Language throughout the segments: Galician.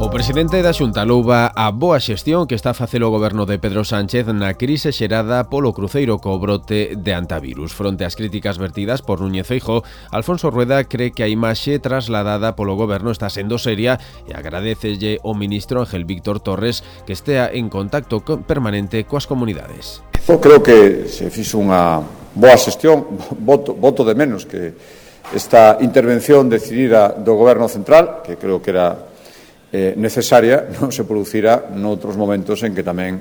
O presidente da Xunta louva a boa xestión que está a facer o goberno de Pedro Sánchez na crise xerada polo cruceiro co brote de antivirus. Fronte ás críticas vertidas por Núñez Feijóo, Alfonso Rueda cree que a imaxe trasladada polo goberno está sendo seria e agradecelle ao ministro Ángel Víctor Torres que estea en contacto permanente coas comunidades. Eu creo que se fixo unha boa xestión, voto de menos que esta intervención decidida do goberno central, que creo que era necesaria, non se producira noutros momentos en que tamén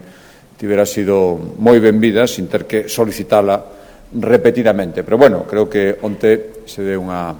tivera sido moi benvida sin ter que solicitala repetidamente. Pero, bueno, creo que onte se deu unha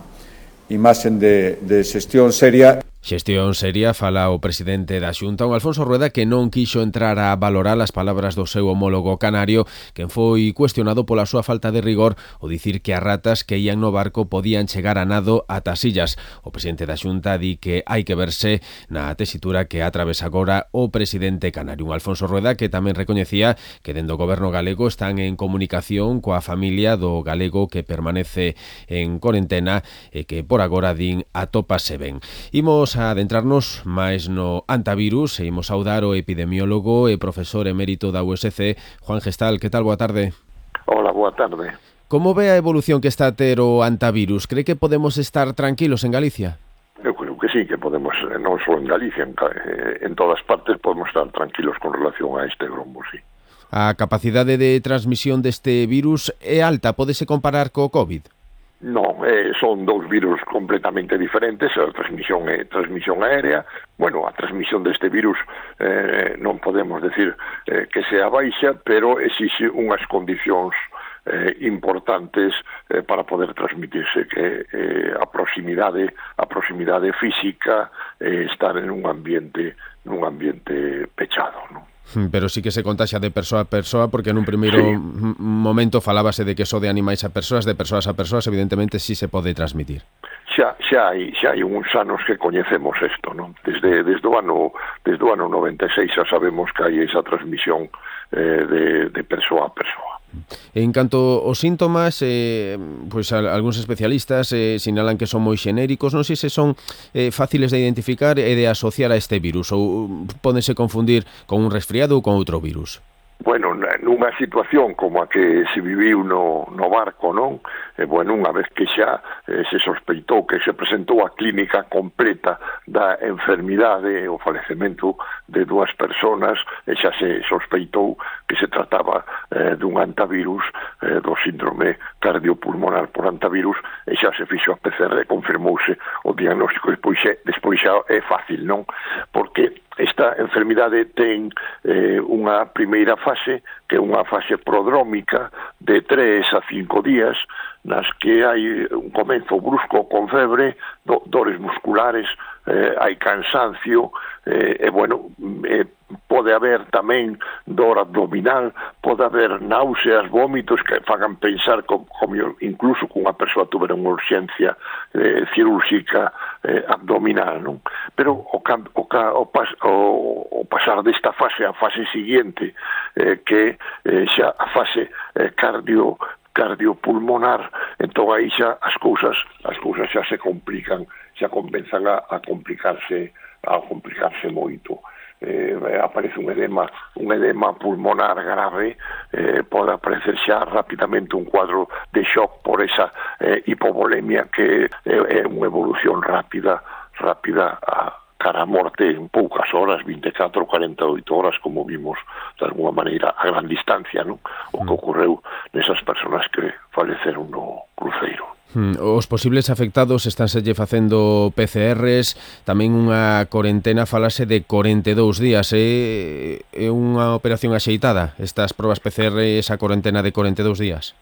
imaxe de xestión seria. Xestión seria, fala o presidente da Xunta, un Alfonso Rueda que non quixo entrar a valorar as palabras do seu homólogo canario, quen foi cuestionado pola súa falta de rigor ao dicir que as ratas que ían no barco podían chegar a nado ata as illas. O presidente da Xunta di que hai que verse na tesitura que atravesa agora o presidente canario. Un Alfonso Rueda que tamén recoñecía que dende o goberno galego están en comunicación coa familia do galego que permanece en cuarentena e que por agora din atópase ben. Imos a adentrarnos máis no antivirus e imos saudar o epidemiólogo e profesor emérito da USC, Juan Gestal. Que tal? Boa tarde. Hola, boa tarde. Como ve a evolución que está a ter o antivirus? Cree que podemos estar tranquilos en Galicia? Eu creo que sí, que podemos, non só en Galicia, en todas partes podemos estar tranquilos con relación a este grombo, sí. A capacidade de transmisión deste virus é alta, pódese comparar co COVID? Non, son dous virus completamente diferentes. A transmisión é transmisión aérea. Bueno, a transmisión deste virus non podemos decir que sea baixa, pero exixe unhas condicións importantes para poder transmitirse, que a proximidade física, estar en un ambiente pechado, non? Pero sí que se contaxa de persoa a persoa, porque nun primeiro momento falábase de que só de animais a persoas, de persoas a persoas, evidentemente sí se pode transmitir. Xa hai uns anos que coñecemos isto, non? Desde o ano 96 xa sabemos que hai esa transmisión de persoa a persoa. En canto aos síntomas, pois algúns especialistas sinalan que son moi xenéricos. Non sei se son fáciles de identificar e de asociar a este virus, ou pódense confundir con un resfriado ou con outro virus. Bueno, nunha situación como a que se viviu no barco, non? Bueno, unha vez que xa se sospeitou que se presentou a clínica completa da enfermidade, o falecemento de dúas personas, e xa se sospeitou que se trataba dun antivirus, do síndrome cardiopulmonar por antivirus, e xa se fixo a PCR, confirmouse o diagnóstico, despois xa é fácil, non? Porque esta enfermidade ten unha primeira fase, que é unha fase prodrómica de 3 a 5 días, nas que hai un comenzo brusco con febre, dores musculares, hai cansancio, e bueno, pode haber tamén dor abdominal, pode haber náuseas, vómitos que fagan pensar como incluso que unha persoa tuvera unha urxencia cirúrxica abdominal, non? Pero o pasar desta fase á fase siguiente, que xa a fase cardiopulmonar, entón aí xa as cousas xa se complican, xa comenzan a complicarse moito. Aparece un edema pulmonar grave, pode aparecer xa rapidamente un cuadro de shock por esa hipovolemia, que é unha evolución rápida cara a morte en poucas horas, 24 ou 48 horas, como vimos de alguma maneira a gran distancia, non? O que ocorreu nesas persoas que faleceron no cruceiro. Os posibles afectados estánselle facendo PCRs, tamén unha corentena, falase de 42 días. É unha operación axeitada estas probas PCR, esa corentena de 42 días?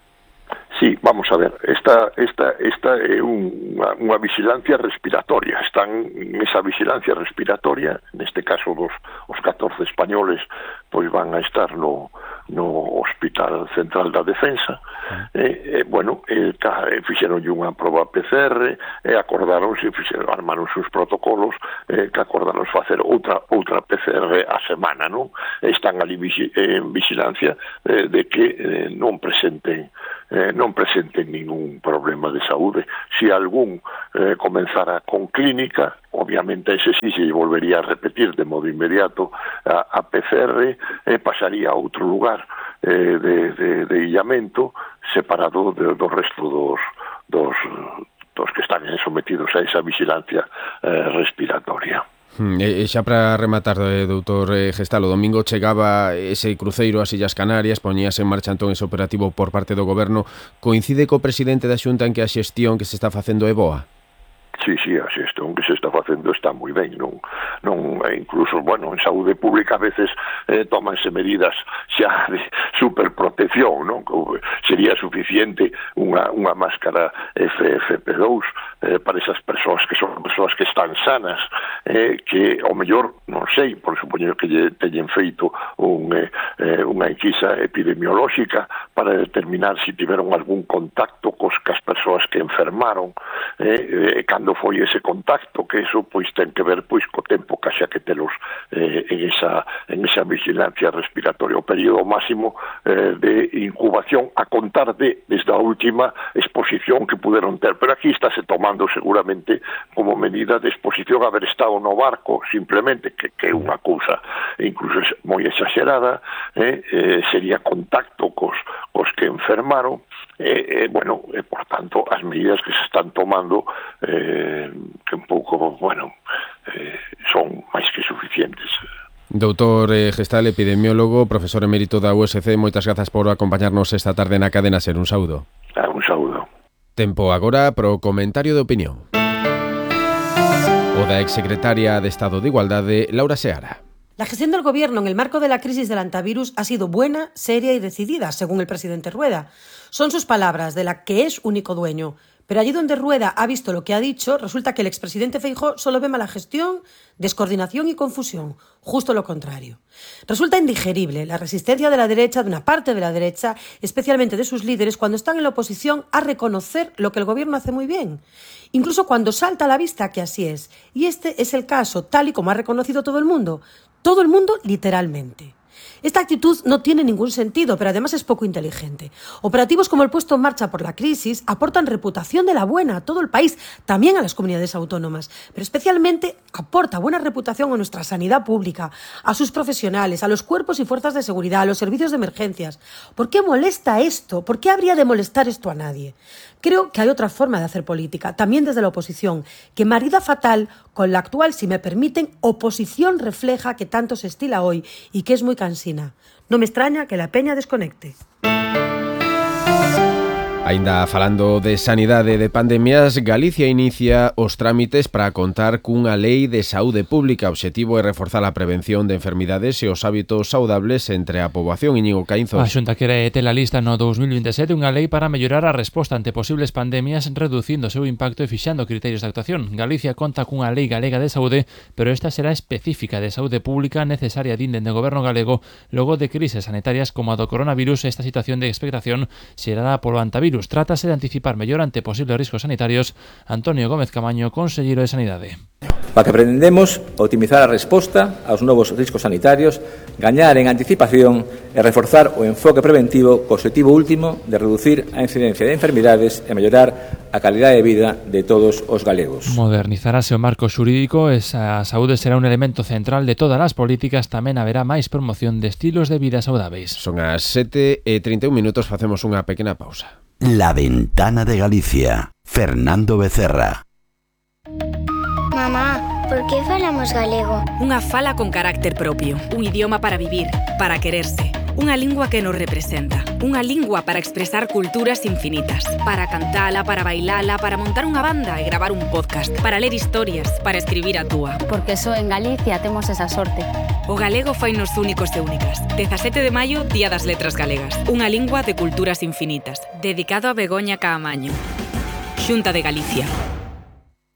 Sí, vamos a ver, esta é unha vigilancia respiratoria. Están nesa vigilancia respiratoria, neste caso os 14 españoles pois van a estar no Hospital Central da Defensa. Fixeronlle unha proba PCR, armaron os protocolos, que acordaron facer outra PCR a semana, non? Están ali en vigilancia de que non presenten non presenten ningún problema de saúde. Se algún comenzara con clínica, obviamente ese sí se volvería a repetir de modo inmediato a PCR e pasaría a outro lugar de illamento separado do resto dos que están sometidos a esa vigilancia respiratoria. E xa para rematar, doutor Gestal, o domingo chegaba ese cruceiro ás Illas Canarias, poñíase en marcha entón ese operativo por parte do Goberno. Coincide co presidente da Xunta en que a xestión que se está facendo é boa? Sí, a xestión que se está facendo está moi ben, non incluso, en saúde pública a veces tómanse medidas xa de superprotección, non? Sería suficiente unha máscara FFP2 para esas persoas que son persoas que están sanas, que ao mellor, non sei, por supoñer que teñen feito unha enquisa epidemiolóxica para determinar se tiveron algún contacto cos as persoas que enfermaron, cando foi ese contacto, que eso pois ten que ver pois co tempo que xa que telos en esa vigilancia respiratoria, o período máximo de incubación a contar desde a última exposición que puderon ter, pero aquí estáse tomando seguramente como medida de exposición haber estado no barco, simplemente, que é unha cousa incluso moi exagerada, sería contacto cos que enfermaron, por tanto, as medidas que se están tomando que un pouco, son máis que suficientes. Doutor Gestal, epidemiólogo, profesor emérito da USC, moitas grazas por acompañarnos esta tarde na Cadena Ser. Un saúdo. Un saúdo. Tempo agora pro comentario de opinión. O da exsecretaria de Estado de Igualdade, Laura Seara. La gestión del Gobierno en el marco de la crisis del antivirus ha sido buena, seria y decidida, según el presidente Rueda. Son sus palabras, de la que es único dueño. Pero allí donde Rueda ha visto lo que ha dicho, resulta que el expresidente Feijóo solo ve mala gestión, descoordinación y confusión. Justo lo contrario. Resulta indigerible la resistencia de la derecha, de una parte de la derecha, especialmente de sus líderes, cuando están en la oposición, a reconocer lo que el Gobierno hace muy bien. Incluso cuando salta a la vista que así es. Y este es el caso, tal y como ha reconocido todo el mundo. Todo el mundo, literalmente. Esta actitud no tiene ningún sentido, pero además es poco inteligente. Operativos como el puesto en marcha por la crisis aportan reputación de la buena a todo el país, también a las comunidades autónomas, pero especialmente aporta buena reputación a nuestra sanidad pública, a sus profesionales, a los cuerpos y fuerzas de seguridad, a los servicios de emergencias. ¿Por qué molesta esto? ¿Por qué habría de molestar esto a nadie? Creo que hay otra forma de hacer política, también desde la oposición, que marida fatal con la actual, si me permiten, oposición refleja que tanto se estila hoy y que es muy cansina. No me extraña que la peña desconecte. Aínda falando de sanidade e de pandemias, Galicia inicia os trámites para contar cunha lei de saúde pública. O obxectivo é reforzar a prevención de enfermidades e os hábitos saudables entre a poboación. Íñigo Caínzos. A Xunta quere ter a lista no 2027 unha lei para mellorar a resposta ante posibles pandemias, reducindo o seu impacto e fixando criterios de actuación. Galicia conta cunha lei galega de saúde, pero esta será específica de saúde pública necesaria dende o goberno galego logo de crises sanitarias como a do coronavirus. Esta situación de expectación xerada polo antivirus. Trátase de anticipar mellor ante posibles riscos sanitarios. Antonio Gómez Camaño, conselleiro de Sanidade. Para que pretendemos optimizar a resposta aos novos riscos sanitarios, gañar en anticipación e reforzar o enfoque preventivo co objetivo último de reducir a incidencia de enfermidades e mellorar a calidade de vida de todos os galegos. Modernizarase o marco xurídico e a saúde será un elemento central de todas as políticas. Tamén haberá máis promoción de estilos de vida saudáveis. Son as 7:31, facemos unha pequena pausa. La Ventana de Galicia. Fernando Becerra. Mamá, por que falamos galego? Unha fala con carácter propio, un idioma para vivir, para quererse, unha lingua que nos representa, unha lingua para expresar culturas infinitas, para cantala, para bailala, para montar unha banda e gravar un podcast, para ler historias, para escribir a túa. Porque só en Galicia temos esa sorte. O galego fainos únicos e únicas. 17 de maio, Día das Letras Galegas. Unha lingua de culturas infinitas. Dedicado a Begoña Caamaño. Xunta de Galicia.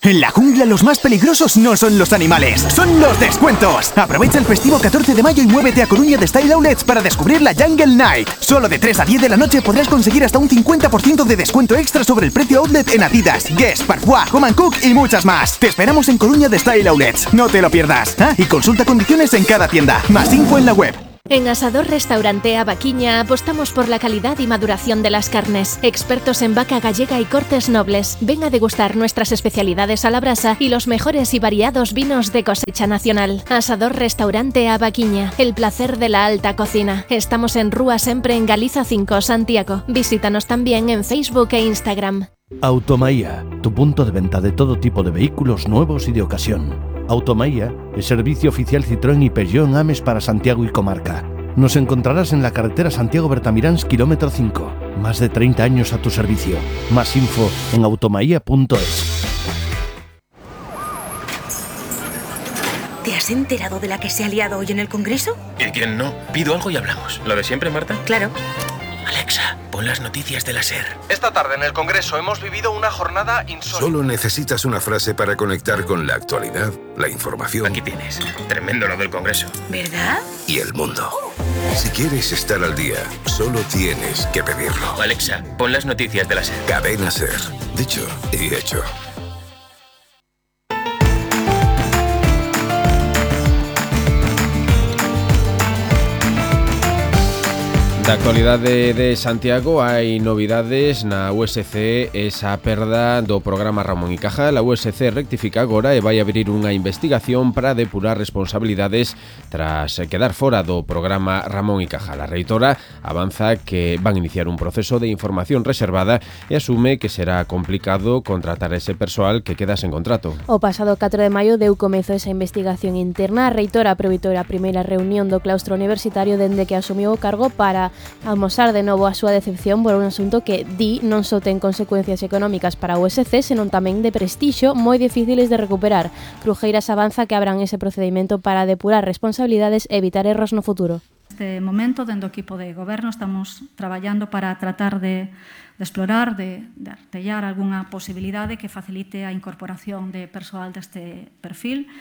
En la jungla los más peligrosos no son los animales, son los descuentos. Aprovecha el festivo 14 de mayo y muévete a Coruña de Style Outlets para descubrir la Jungle Night. Solo de 3 a 10 de la noche podrás conseguir hasta un 50% de descuento extra sobre el precio outlet en Adidas, Guess, Parfois, Home & Cook y muchas más. Te esperamos en Coruña de Style Outlets, no te lo pierdas. Y consulta condiciones en cada tienda. Más info en la web. En Asador Restaurante Abaquiña apostamos por la calidad y maduración de las carnes. Expertos en vaca gallega y cortes nobles. Ven a degustar nuestras especialidades a la brasa y los mejores y variados vinos de cosecha nacional. Asador Restaurante Abaquiña, el placer de la alta cocina. Estamos en Rúa Sempre en Galiza 5, Santiago. Visítanos también en Facebook e Instagram. Automaía, tu punto de venta de todo tipo de vehículos nuevos y de ocasión. Automaía, el servicio oficial Citroën y Peugeot en Ames para Santiago y comarca. Nos encontrarás en la carretera Santiago-Bertamiráns, kilómetro 5. Más de 30 años a tu servicio. Más info en automaía.es. ¿Te has enterado de la que se ha liado hoy en el Congreso? ¿Y quién no? Pido algo y hablamos. ¿Lo de siempre, Marta? Claro. Alexa, pon las noticias de la SER. Esta tarde en el Congreso hemos vivido una jornada insólita. Solo necesitas una frase para conectar con la actualidad, la información. Aquí tienes. Tremendo lo del Congreso. ¿Verdad? Y el mundo. Si quieres estar al día, solo tienes que pedirlo. Alexa, pon las noticias de la SER. Cadena SER. Dicho y hecho. Da actualidade de Santiago hai novidades na USC esa perda do programa Ramón y Cajal. A USC rectifica agora e vai abrir unha investigación para depurar responsabilidades tras quedar fora do programa Ramón y Cajal. A reitora avanza que van iniciar un proceso de información reservada e asume que será complicado contratar ese persoal que queda sen contrato. O pasado 4 de maio deu comezo esa investigación interna. A reitora aproveitou a primeira reunión do claustro universitario dende que asumiu o cargo para amosar de novo a súa decepción por un asunto que di non só ten consecuencias económicas para a USC, senón tamén de prestixio moi difíciles de recuperar. Crujeiras avanza que abran ese procedimento para depurar responsabilidades e evitar erros no futuro. Neste momento, dentro do equipo de goberno, estamos traballando para tratar de explorar, de artellar algunha posibilidade que facilite a incorporación de persoal deste perfil,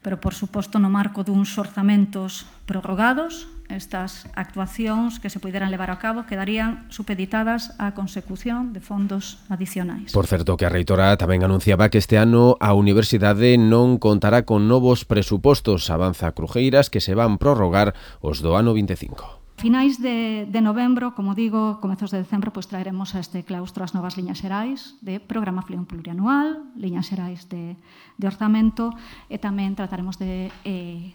pero, por suposto, no marco duns orzamentos prorrogados. Estas actuacións que se puderan levar a cabo quedarían supeditadas á consecución de fondos adicionais. Por certo, que a reitora tamén anunciaba que este ano a universidade non contará con novos presupostos. Avanza Crujeiras que se van prorrogar os do ano 25. Finais de novembro, como digo, comezos de decembro, pois traeremos a este claustro as novas liñas xerais de programación plurianual, liñas xerais de orzamento, e tamén trataremos de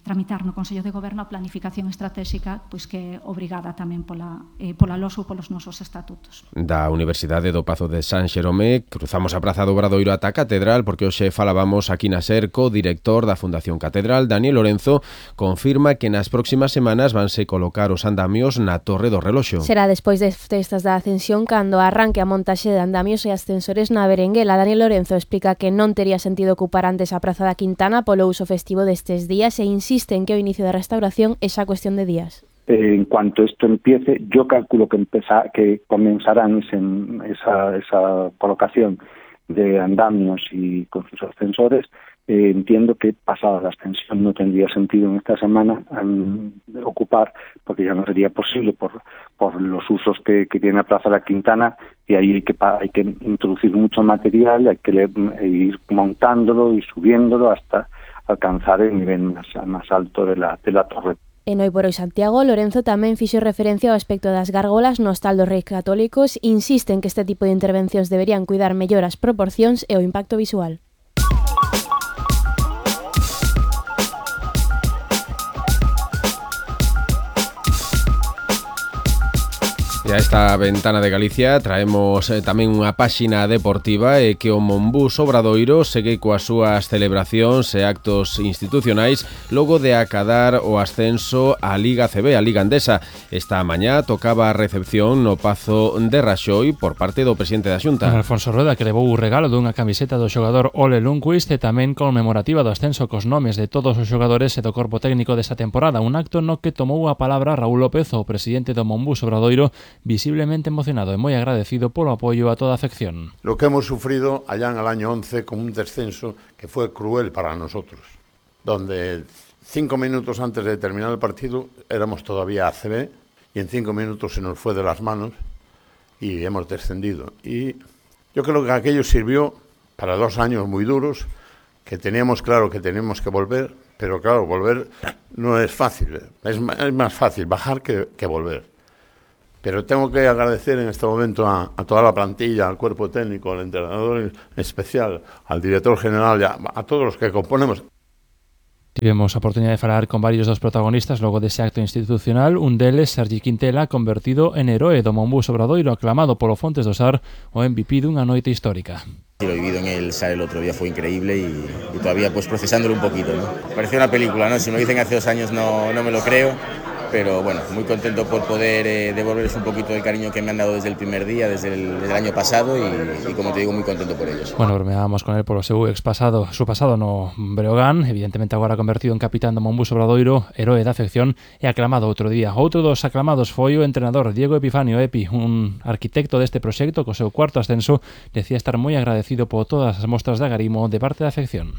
tramitar no Consello de Goberno a planificación estratégica, pois que é obrigada tamén pola LOSU, polos nosos estatutos. Da Universidade do Pazo de San Xerome cruzamos a Praza do Obradoiro ata a Catedral, porque hoxe falábamos aquí na SER co director da Fundación Catedral, Daniel Lorenzo, confirma que nas próximas semanas vanse colocar os andamios na Torre do Reloxo. Será despois das festas da Ascensión cando arranque a montaxe de andamios e ascensores na Berenguela. Daniel Lorenzo explica que non tería sentido ocupar antes a Praza da Quintana polo uso festivo destes días e insiste en que o inicio da restauración é xa cuestión de días. En cuanto esto empiece, yo calculo que comenzarán esa colocación de andamios y con sus ascensores. Entiendo que pasada la ascensión no tendría sentido en esta semana ocupar, porque ya no sería posible por los usos que tiene la Plaza de la Quintana, y ahí hay que introducir mucho material, hay que ir montándolo y subiéndolo hasta alcanzar el nivel más alto de la torre. En Hoy por Hoy Santiago, Lorenzo tamén fixo referencia ao aspecto das gárgolas no hostal dos Reis Católicos. Insiste en que este tipo de intervencións deberían cuidar mellor as proporcións e o impacto visual. E a esta ventana de Galicia traemos tamén unha páxina deportiva e que o Monbús Obradoiro segue coas súas celebracións e actos institucionais logo de acadar o ascenso á Liga CB, a Liga Andesa. Esta mañá tocaba a recepción no Pazo de Raxoi por parte do presidente da Xunta. Alfonso Rueda, que levou o regalo dunha camiseta do xogador Ole Lundqvist e tamén conmemorativa do ascenso cos nomes de todos os xogadores e do corpo técnico desta temporada, un acto no que tomou a palabra Raúl López, o presidente do Monbús Obradoiro, visiblemente emocionado e moi agradecido polo apoio a toda a afección. Lo que hemos sufrido allá en el año 11 con un descenso que fue cruel para nosotros, donde 5 minutos antes de terminar el partido éramos todavía ACB y en 5 minutos se nos fue de las manos y hemos descendido. Y yo creo que aquello sirvió para 2 años muy duros que teníamos claro que teníamos que volver, pero claro, volver no es fácil, es más fácil bajar que volver. Pero tengo que agradecer en este momento a toda la plantilla, al cuerpo técnico, al entrenador en especial, al director general, a todos los que componemos. Tivemos a oportunidade de falar con varios dos protagonistas logo dese acto institucional. Un deles, Sergi Quintela, convertido en heroe do Monbus Obradoiro, aclamado polo Fontes do Sar, o MVP dunha noite histórica. Lo vivido en el SAR el otro día fue increíble y todavía pues procesándolo un poquito, ¿no? Parecía una película, ¿no? Si me lo dicen hace 2 años no me lo creo. Pero bueno, muy contento por poder devolverles un poquito del cariño que me han dado desde el primer día, desde el año pasado y como te digo, muy contento por ellos. Bueno, bromeábamos con él polo seu su pasado no Breogán, evidentemente agora convertido en capitán do Monbus Obradoiro, heroe da afección e aclamado outro día. Outro dos aclamados foi o entrenador Diego Epifanio Epi, un arquitecto deste proxecto co seu 4º ascenso, decía estar moi agradecido por todas as mostras de agarimo de parte da afección.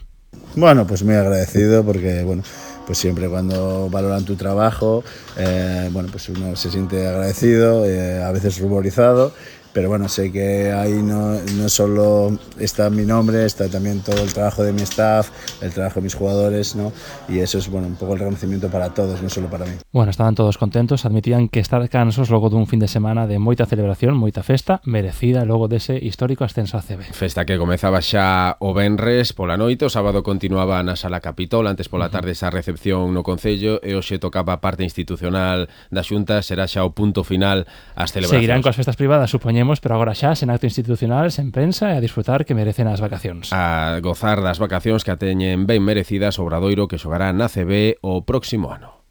Bueno, pues muy agradecido porque, bueno, pues siempre cuando valoran tu trabajo, bueno, pues uno se siente agradecido, a veces ruborizado, pero bueno, sé que ahí no solo está mi nombre, está también todo el trabajo de mi staff, el trabajo de mis jugadores, ¿no? Y eso es, bueno, un poco el reconocimiento para todos, no solo para mí. Bueno, estaban todos contentos, admitían que estar cansos logo dun fin de semana de moita celebración, moita festa, merecida logo dese histórico ascenso a CB. Festa que comezaba xa o venres pola noite, o sábado continuaba na Sala Capitol, antes pola tarde esa recepción no Concello e hoxe tocaba a parte institucional da Xunta, será xa o punto final as celebracións. Seguirán coas festas privadas, supoñemos, pero agora xa sen acto institucional, sen prensa e a disfrutar que merecen as vacacións. A gozar das vacacións que a teñen ben merecidas o Obradoiro que xogará na CB o próximo ano.